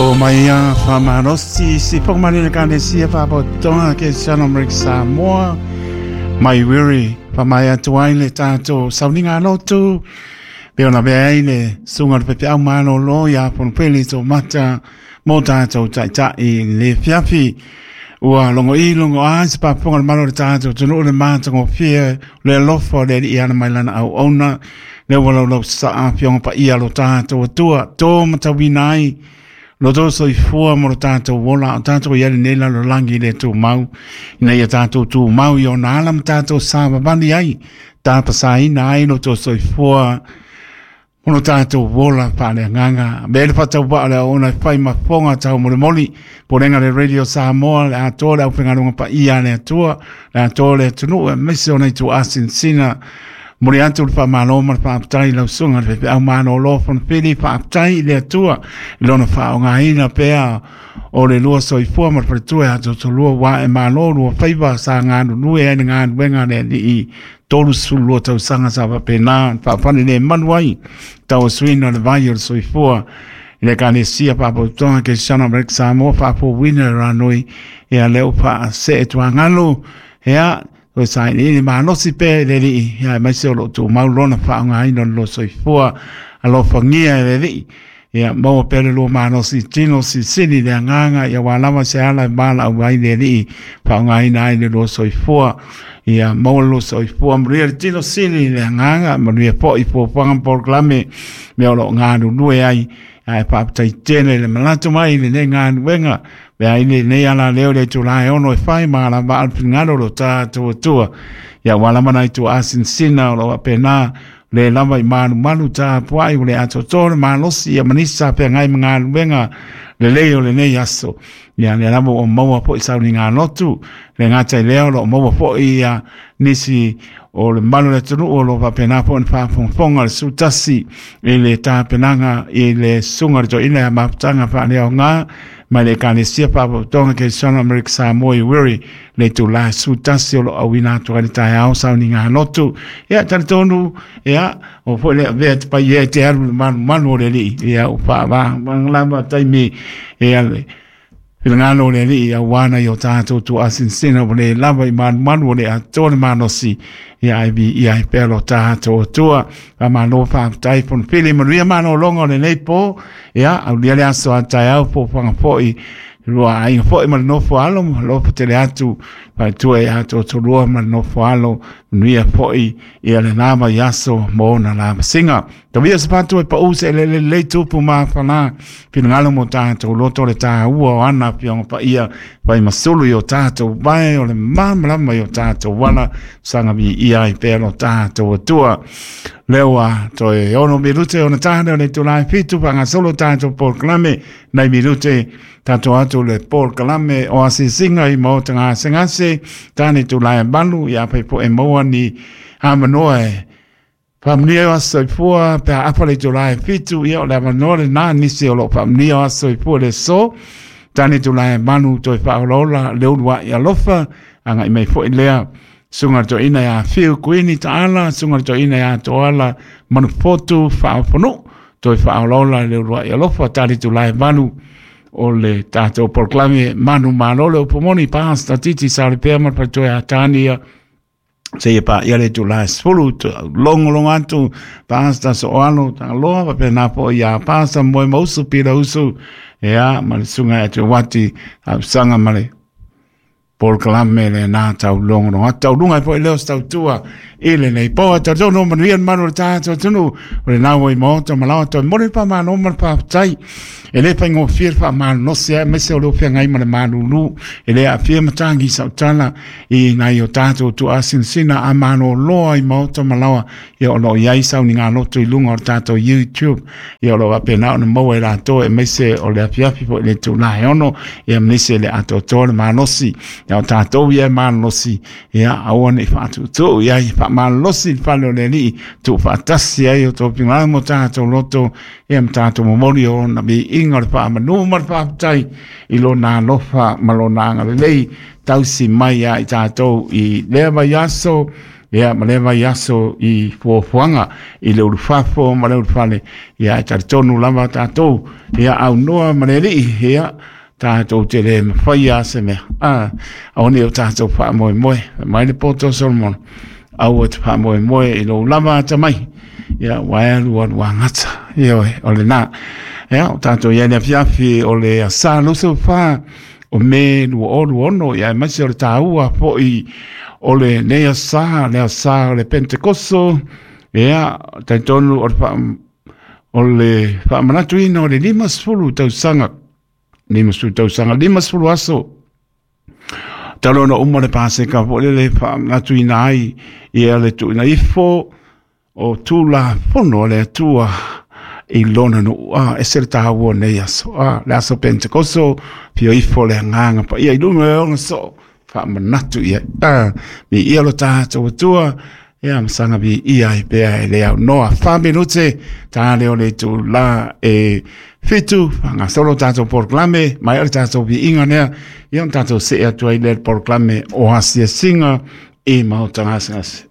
O mai a whamanosi si whakamanene kanesia whapotonga ke Sana Amerika Samoa mai wiri whamai atu ai le tātou sauninga lotu pe ona mea ai le sunga le pepe au malolo ia ponopele tō mata mō tātou taitai le fiafi ua longo i longo a se paponga le malo le tātou tunu le mātango fia le alofa le i ana mai lana au ona le ua laulau sa a fionga pa ia lo tātou atua tō matawina ai lo tō soifua mo lo tātou ola o tātou i ale nei lalo langi le tū mau ina ia tātou tū mau i ona ala ma tātou sāvavali ai tāpasaina ai lo tō soifua mo lo tātou ola whaaleagaga me le whatau le ona e whai mafonga tau molimoli polenga le Radio Samoa le atoa le aufaigaluega paia le Atua le atoa le atunuu aemaise ona itu asinsina moli atu le faamalo ma le faafetai i lau susuga le faifeau malōlō Fonofili faafetai i le Atua i lona faaaogaina pea o le lua soifua ma le faletua e atoatolua ua e malo lua faiva sa galulue ai le galuega a le Alii 32 tausaga sa faapena faafale le manu ai tauasuina o le vai o le soifua i le Ekalesia Faapotopotoga Kerisiano Amerika Samoa faafouina le ranoi ia lea ua faasee tuagalu ia toe sailiili malosi pea i le Alii ia aemaise o lo o tumau lona faaaogaina o le lua soifua alofagia e le Alii ia maua pea le lua malosi tino silisili le agaga ia ua lava se ala e valaau ai le Alii faaaogaina ai le lua soifua ia maua le lua soifua manuia le tino sili le agaga manuia foi fuafuaga ma polokalame mea o lo o galulue ai ae faafetai tele le manatu mai i lenei galuega me ai lenei ala leo le itula e ono e fai ma ala vaa le finagalo o lo tatou Atua ia ua lava nai tuaasinsina o lo o faapena le lava i malumalu tapuai ua le atoatoa le malosi ia ma nisi sa feagai ma galuega lelei o lenei aso ia lea lava ua maua foi sauniga lotu le gata i lea o lo o maua foi ia nisi o le malu o le atunuu o lo o faapena foi ona faafogafoga le sutasi i le tapenaga i le susuga o le toeaina ia Mafutaga Faaleaoga mai le Ekalesia Faapotopotoga Kerisiano Amerika Samoa i Wiri le itula sutasi o lo o auina atu ai le taeao sauniga lotu ia talitonu ia o foi le avea te pai e te alu le malumalu o le Alii ia o faavagavaga lava taimi ia le finagalo o le Alii auā nai o tātou tuuasinsina ua le lava i malumalu o le atoa le malosi ia ai viia ai pea lo tātou Atua. Faamalo faafetai Fonofili manuia malologa o lenei pō ia aulia le aso a taeao foafoaga foi lua aiga foi ma le nofo alo ma alofa tele atu faletua ia Toatolua ma le nofo alo manuia foi ia lena vaiaso mo ona lavasiga. Tauia se patu e paʻū se eleele lelei tupu ma whana finagalo mo tātou loto le tāua o ana fioga paia fai masulu i o tātou vae o le malamalama i o tātou wala saga viia ai pea lo tātou Atua. Lea ua toe 6 minute ona tāne o le itula e 7 faagasolo tātou polokalame nai minute tātou atu le polokalame o asiasiga i maota gasegase tāne itula e 8 ia pai po e maua ni avanoa e faamanuia o aso soifua pe a afa le itula e 7 ia o le avanoa lenā nisi o lo o faamanuia o aso soifua le aso tane itula e 8 toe faaolaola le uluai alofa agai mai foi lea susuga le toeaina ia Fiu Kuini Taala susuga le toeaina ia Toala Manufotu Faaofonuu toe faaolaola le uluai alofa tane itula e 8 o le tatou polokalame manumalo le upu moni Pastor Titi Salepea ma le faletua ia Tania seia paia le itula e 10 logologo atu Pastor Soalo Tagaloa faapena foi ia Pastor Moemausu Pilausu ia ma le susuga ia Teuati Tausaga ma le polokalame lenā taulogologo atu tauluga ai foi lea o se tautua i lenei po. Ae talitonu o manuia le malu o le tatou atunuu o lenā ua i maota ma laoa toe momoli le faamalo ma le faafetai. E le faigofie le faamalolosi aemaise o le feagai ma le malulu e le aafia matagi sautala i nai o tatou tuuasinasina a maloloa i maota ma laoa ia o lo o i ai sauniga loto i luga o le tatou YouTube ia o lo o faapena ona maua e latou aemaise o le afiafi foi i le itula e 6 ia ma nisi e le atoatoa le malosi ia o tatou ia e malolosi ia aua ne i faatuutuu i ai faamalolosi le fale o le Alii tuufaatasi ai o tou finagalo ma o tatou loto ia ma tatou momoli o ona viiga o le faamanu ma le faafetai i lona alofa ma lona agalelei tausi mai ia i tatou i lea vaiaso. Ia ma lea vaiaso i fuafuaga i le ulufafo ma le ulufale, ia e talitonu lava tatou, ia aunoa ma le Alii, ia tatou te le mafaia se mea. Aua ne i o tatou faamoemoe, fai mai le poto o Solomona, aua e te faamoemoe i lou lava atamai, ia ua e alualu agata. Ioe, o lena. Ia, o tatou i ai le afiafi o le asa 24 o Me 2026, ia aemaise o le taua foi o lenei asa, le asa o le Pentekoso, ia, talitonu o le o le faamanatuina o le 50 tausaga, 50 tausaga, 50 aso, talu ona uma le Paseka foi lele faamanatuina ai ia le tuuina ifo o Tulafono a le Atua i lona nuu. Ese le taua o nei aso. Le aso Pentekoso, fio ifo le agaga paia i luga e ona soo, faamanatu i ai. Viia lo tatou Atua, ia masaga viia ai pea e le aunoa. 4 minute ta le o le itula e 7, faagasolo tatou polokalame, mai o le tatou viiga lea, ia ona tatou see atu ai le polokalame o asiasiga i maota gasegase.